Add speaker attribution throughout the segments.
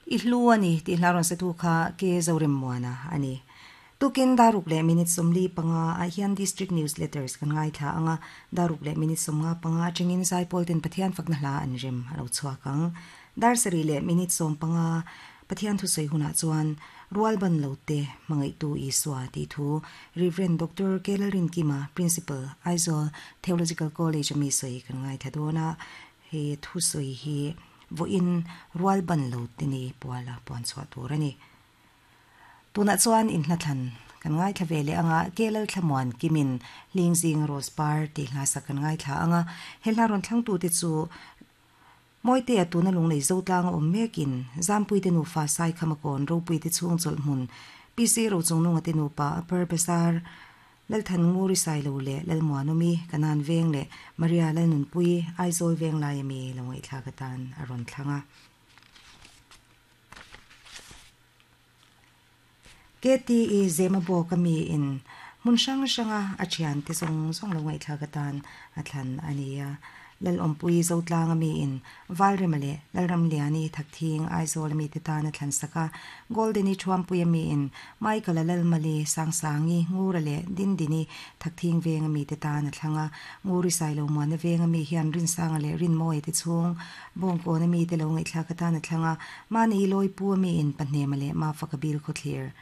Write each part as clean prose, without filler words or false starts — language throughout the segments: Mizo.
Speaker 1: I hlu a ni tih hla rawn satu kha Ke Zoremmuana a ni. Tukin daruk leh minute 45 ah hian District News Letters kan ngaithla ang a, daruk leh minute 55 atangin Zaipawl ten Pathian fakna hla an rem a lo chhuak ang. Dar sarih leh minute 15 Pathian thusawi hunah chuan Rualban lo te hmangaihtu Isua tih thu Rev. Doctor Kelarinkima, Principal, Aizawl Theological College a mi sawi kan ngaithla dawn a, he thusawi hi vawiin Rualban lo te ni puala puan chhuah tur a ni. Tunah chuan inhnathlan kan ngaithla ve leh anga Kelal Thlamuan Kimin Lingzing Rose Par tih hla sak kan ngaithla anga he hla rawn thlangtute chu Mawitea tuna lunglei Zotlang a awm mekin Zampuite nufa Saikhama kawn Ropuite chhung chawlh hmun PC Rochungnunga te nupa Upper Bazar Lalthan Nguri Sailo leh Lalmuanawmi Kanan Veng leh Maria Lalnunpui Aizawl Venglai ami lo ngaihthlak atan a rawn thlang a. KTE Zema bawk a mi in hmun hrang hranga a thian te zawng zawng lo ngaihthlak atan a thlan a ni a. Lalawmpui Zotlang a mi in Valrema leh Lalramliani Thakthing Aizawl a mi te tan a thlan sak a. Golden-i Thuampui a mi in Michael-a Lalmali Sangsangi Ngura leh Dindini Thakthing veng a mi te tan a thlang a. Nguri Sailomuana veng a mi hian Rinsanga leh Rinmawia te chhung Bawngkawn a mite lo ngaihthlak atan a thlang a, mahni Lawipu a miin Pahnema leh Mafaka bil khawthlir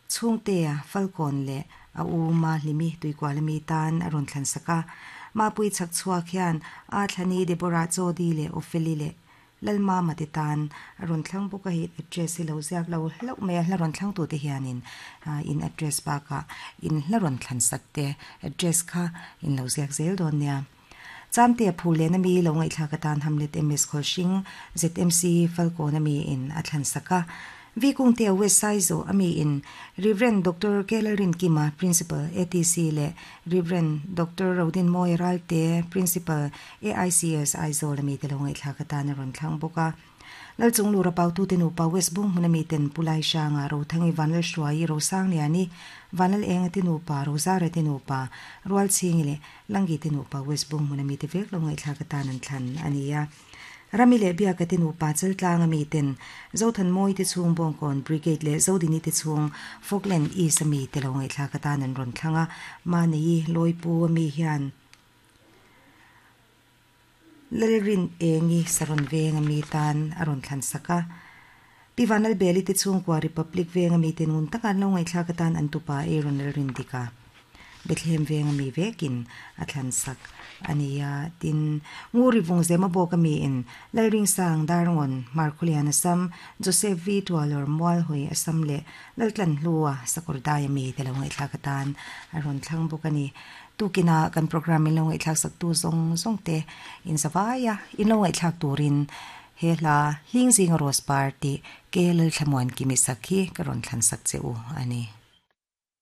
Speaker 1: Chhungtea Falkawn leh a u Mahlimi Tuikual a mi tan a rawn thlan sak a. Mapui chhak chhuak hian a thlani Deborah Chawdi leh Opheli leh Lalmama te tan a rawn thlang bawk a, hei address hi lo ziak lo hlauh mai a, hla rawn thlangtute hianin in address bakah in hla rawn thlan sak te address kha in lo ziak zel dawn nia. Chamte a phur lehna mi lo ngaihthlak atan Hamlet MS Khawlhring, ZMC, Falkawn a mi in a thlan sak a. V Kungte a West Saizaw a mi in Rev. Doctor Kelarinkima, Principal, ATC leh Rev. Doctor Rodinmawia Ralte, Principal, AICS, Aizawl a mi te lo ngaihthlak atan a rawn thlang bawk a. Lalchunglura pautute nupa West Bung hmuna miten Pu Laisanga, Rothangi Vanlalhruaii, Rosangliani, Vanlalenga te nupa, Rozara te nupa, Rualchhingi leh Langi te nupa West Bung hmuna mite vek lo ngaihthlak atan an thlan a ni a. Rami leh Biaka te nupa Chaltlanga miten Zothanmawi te chhung Bawngkawn Brigade leh Zodini te chhung Falkland East a mite lo ngaihthlak atan an rawn thlang a. Mahni Lawipu a mi hian Lalrin Engi Saron venga mi tan a rawn thlan sak a. Pi Vanlalbeli te chhungkua Republic venga mite ngun taka an lo ngaihthlak atan an tupa Aaron Lalrin dika Bethlehem venga mi vekin a thlan sak a ni a. Tin, Nguri Vungzema bawka miin Lalringsang Darngawn Hmarkhulian Assam, Joseph V Tualawr Mualhawi Assam leh Laltlanhlua Sakawrdaia mite lo ngaihthlak atan a rawn thlang bawk a ni. Tukinah kan programme in lo ngaihthlak sak tu zawng zawng te in zavai a, in lo ngaihthlak turin he hla Hlingzinga Rose Par tih Ke Lalthlamuan Kimi sak hi ka rawn thlan sak che u a ni.